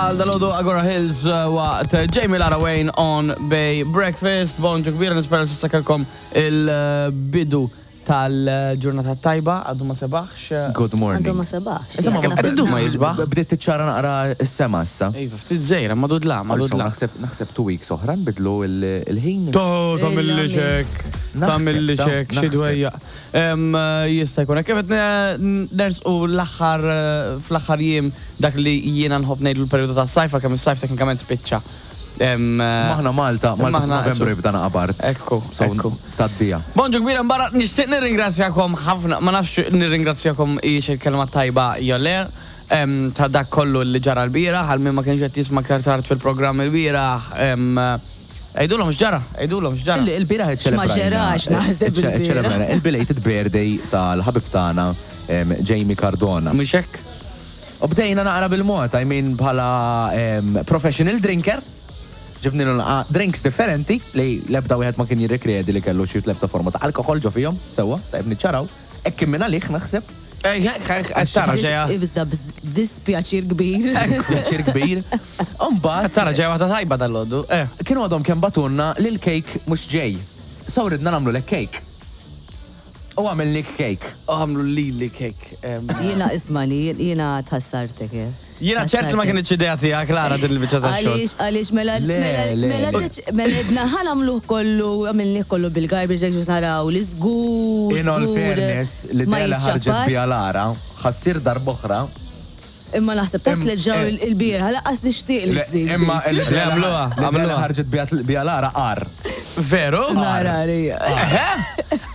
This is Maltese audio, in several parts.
għal dalodu Agora Hills waqt Jamie Lara Wayne on Bay Breakfast. Bonġu kbira nispera s'issa kellkom il-bidu tal-ġurnata tajba, għadu ma sebaħx. Good morning. Għadu ma sebaħx. Insomma, Għadu ma jisbaħ. Bdiet tiċċara naqra s-sema issa. Iva, ftit żejra, ma dudla, ma Also, dudla. naħseb naħseb 2 weeks oħra nbidlu il-ħin. To, tagħmilli ċek, tagħmilli Naħseb, ċek, xi naħseb. dwejja. Jista' jkun hekk. Kif qed nersqu l-aħħar fl-aħħar jiem dak li jiena nħobb ngħidu l-perjodu tas-sajf għalkemm is-sajf teknikament spiċċa. Maħna Malta, Malta Maħna- f'Novembru jibda naqabart. Ekku, So, ekku. Taddija. Bonġu kbira mbara, nixtieq nirringrazzjakom ħafna, ma nafx nirringrazzjakom hijiex il-kelma tajba jew le, ta' dak kollu li ġara l-bieraħ, għal min ma kienx qed jisma' aktar tard fil-programm il-bieraħ. Għidulhom x'ġara, għidulhom x'ġara. Il-bieraħ X'ma ġerax, naħseb il-bieraħ. iċċelebrajna il-belated birthday tal-ħabib tagħna Jamie Cardona. Mhux hekk? U bdejna naqra bil-mod, I mean bħala professional drinker, ġibnilu naqra drinks differenti li l-ebda wieħed ma kien jirrikredi li kellu xi lebda forma ta' alkohol ġo fihom, sewwa, tajb niċċaraw. Hekk kien minn għalih naħseb. Ej, qed tara ġejja. Ibżda dispjaċir kbir. Pjaċir kbir. Umbagħad Tara ġejja waħda tajba dal-għodu. Kienu għadhom kemm bagħtulna li l-cake mhux ġej. So ridna nagħmlulek cake. U għamilnik cake. U għamlu lili cake. Jiena ismani, jiena tħassartek. Jiena ċert li ma kienx idea tiegħek Lara din il-biċċa ta' xogħol. Għaliex, għaliex, mela, Le, mela, le, mela, le. mela, edna ħa nagħmluh kollu, għamilnih kollu bil-garbage bag biex naraw li żgur. In all żgur, fairness, ma l-idea li ħarġet jiċċappax. bija Lara, ħa ssir darb'oħra. Imma naħseb ta' tliet ġraw il-bieraħ, lanqas nixtieq li ssir. Imma dik. l-idea Le, għamluha, l-idea li għamluha. ħarġet bija Lara qar. Veru? Nara, rija. Eħe?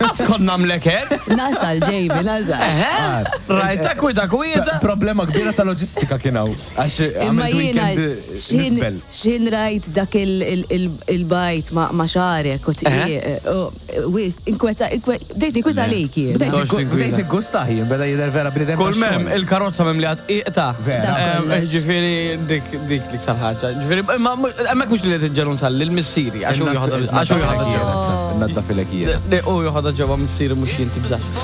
Għas kont nagħmlek hekk? Nasal, Jamie, nasal. Eħe? Rajta kwita kwieta. Problema kbira ta' loġistika kien hawn. Għax Imma għamilt jiena weekend x'ħin nisbel. x'ħin rajt dak il-bajt ma' xarek u tqiq, wis, inkweta, bdejt ninkweta għalik jien. Bdejt Tox tinkwita. bdejt niggusta jien, beda jidher vera bniedem. Kull mem, tax-xogħol. il-karozza mim li għad iqta. Vera. Dak kollox. Ġifieri dik dik l-iktar ħaġa. Ġifieri, imma hemmhekk mhux li qed iġġelu nsalli l-missieri għax hu joħodha għax hu joħodha ġewwa. Naddafilek jiena. Le, hu joħodha ġewwa missieri mhux jien tibżax.